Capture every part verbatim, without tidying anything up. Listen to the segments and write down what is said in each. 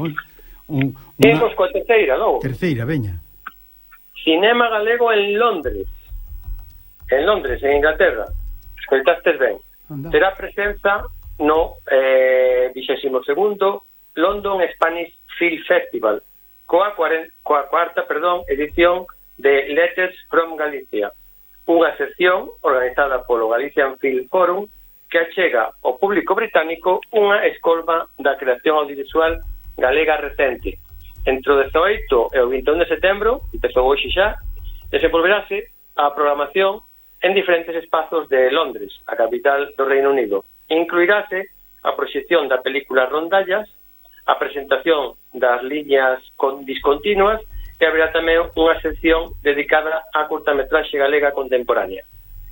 Un, una... Temos coa terceira, logo. Terceira, veña. Cinema galego en Londres. En Londres, en Inglaterra. Escoitastes ben. Anda. Terá presenza no eh, vixésimo segundo London Spanish Film Festival, coa, cuaren, coa cuarta perdón, edición de Letters from Galicia, unha sección organizada polo Galician Film Forum que achega ao público británico unha escolma da creación audiovisual galega recente. Entre o dezaoito e o vinte e un de setembro, empezou hoxe xa, desenvolverase a programación en diferentes espazos de Londres, a capital do Reino Unido. Incluirase a proxección da película Rondallas, a presentación das liñas con discontinuas e haberá tamén unha sección dedicada á curtametraxe galega contemporánea.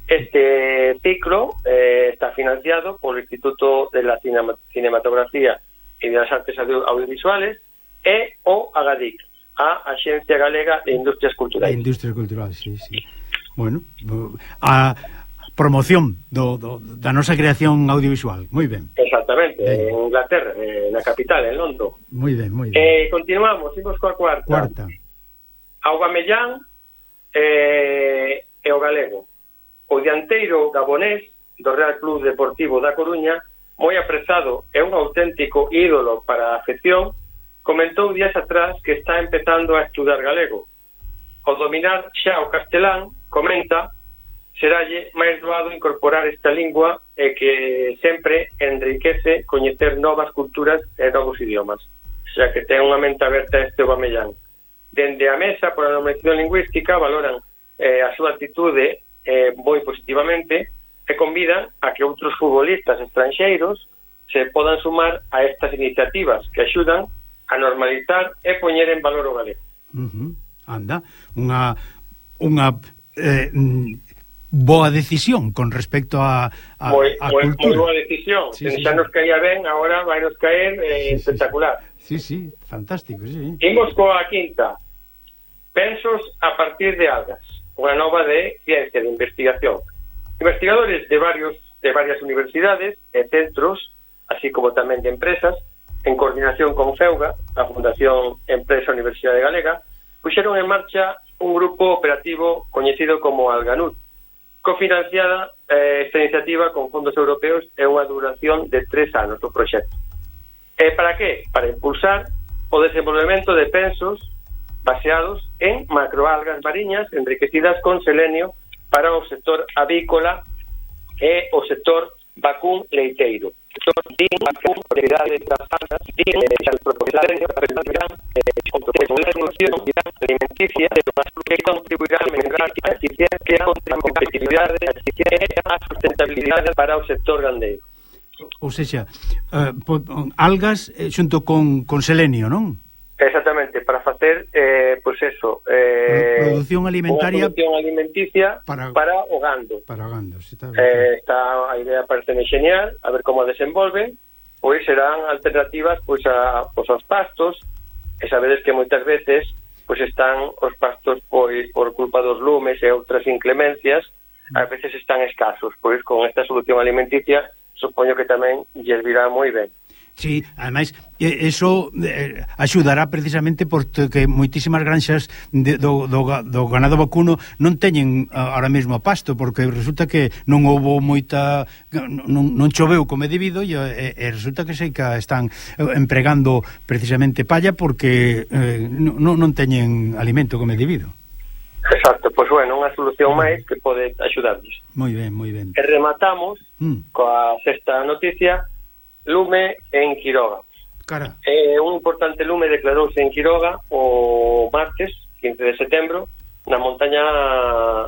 Este ciclo eh, está financiado polo Instituto de la Cinematografía e de las Artes Audiovisuales e o AGADIC, a Axencia Galega de Industrias Culturais. De Industrias Culturais, sí, sí. Bueno, a promoción do, do, da nosa creación audiovisual, moi ben. Exactamente, ben. En Inglaterra, eh, na capital, en London. Moi ben, moi ben. Eh, continuamos, imos coa cuarta. Cuarta. Aubameyang eh, e o galego. O dianteiro gabonés do Real Club Deportivo da Coruña, moi aprezado e un auténtico ídolo para a afección, comentou días atrás que está empezando a estudar galego. Ao dominar xa o castelán, comenta, seralle máis doado incorporar esta lingua e que sempre enriquece coñecer novas culturas e novos idiomas, xa que ten unha mente aberta este Aubameyang. Dende a mesa por a normalización lingüística valoran eh, a súa actitude eh, moi positivamente e convidan a que outros futbolistas estranxeiros se podan sumar a estas iniciativas que axudan a normalizar e poñer en valor o galego. Uh-huh. Anda, unha unha eh, boa decisión con respecto a, a, moi, a moi, cultura. Moi boa decisión. Sí, sí, xa sí. Nos caía ben, agora vai nos caer eh, sí, espectacular. Sí, sí, fantástico, sí. Imos coa quinta. Pensos a partir de algas, unha nova de ciencia de investigación. Investigadores de varios de varias universidades e centros, así como tamén de empresas, en coordinación con FEUGA, a Fundación Empresa Universidade Galega, puxeron en marcha un grupo operativo coñecido como Alganut, cofinanciada eh, esta iniciativa con fondos europeos e unha duración de tres anos do proxecto. E para que? Para impulsar o desenvolvemento de pensos baseados en macroalgas mariñas enriquecidas con selenio para o sector avícola e o sector vacún leiteiro. Sector din vacún, propiedades das algas, din as propiedades da fertilidade, a producción alimenticia, que contribuirá a mellorar a eficiencia, a competitividade e a sustentabilidade para o sector gandeiro. Ou seja, uh, algas eh, xunto con, con selenio, non? Exactamente, para facer, eh, pois pues eso, eh, producción alimentaria, producción alimenticia para, para o gando. Para o gando, sí, está, eh, está a idea parece genial, a ver como a desenvolven, pois serán alternativas pois a pois aos pastos, e sabedes que moitas veces pois están os pastos pois por culpa dos lumes e outras inclemencias, a veces están escasos, pois con esta solución alimenticia supoño que tamén lles virá moi ben. Sí, ademais, eso eh, axudará precisamente porque moitísimas granxas de, do, do, do ganado vacuno non teñen ahora mesmo pasto, porque resulta que non houbo moita non, non choveu como é debido e, e resulta que sei que están empregando precisamente palla porque eh, non, non teñen alimento como é debido. Exacto, pois bueno, unha solución máis que pode axudarnos. Moi ben, moi ben. E rematamos mm. coa sexta noticia. Lume en Quiroga. Cara. Eh, un importante lume declarouse en Quiroga o martes, quince de setembro, na montaña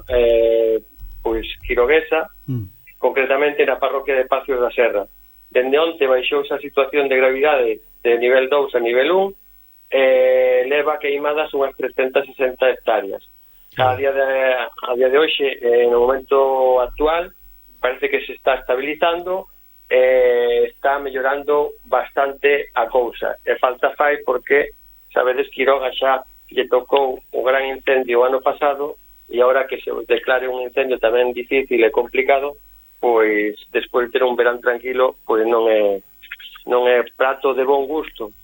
eh, pois quiroguesa, mm. concretamente na parroquia de Pacios da Serra. Dende onte baixou esa situación de gravidade de nivel dous a nivel un, eh, leva queimadas unhas trescentas sesenta hectáreas. A día de, a día de hoxe, eh, no momento actual, parece que se está estabilizando, eh, está mellorando bastante a cousa. E falta fai porque, sabedes, Quiroga xa lle tocou o gran incendio o ano pasado e agora que se declare un incendio tamén difícil e complicado, pois, despois de ter un verán tranquilo, pois non é non é prato de bon gusto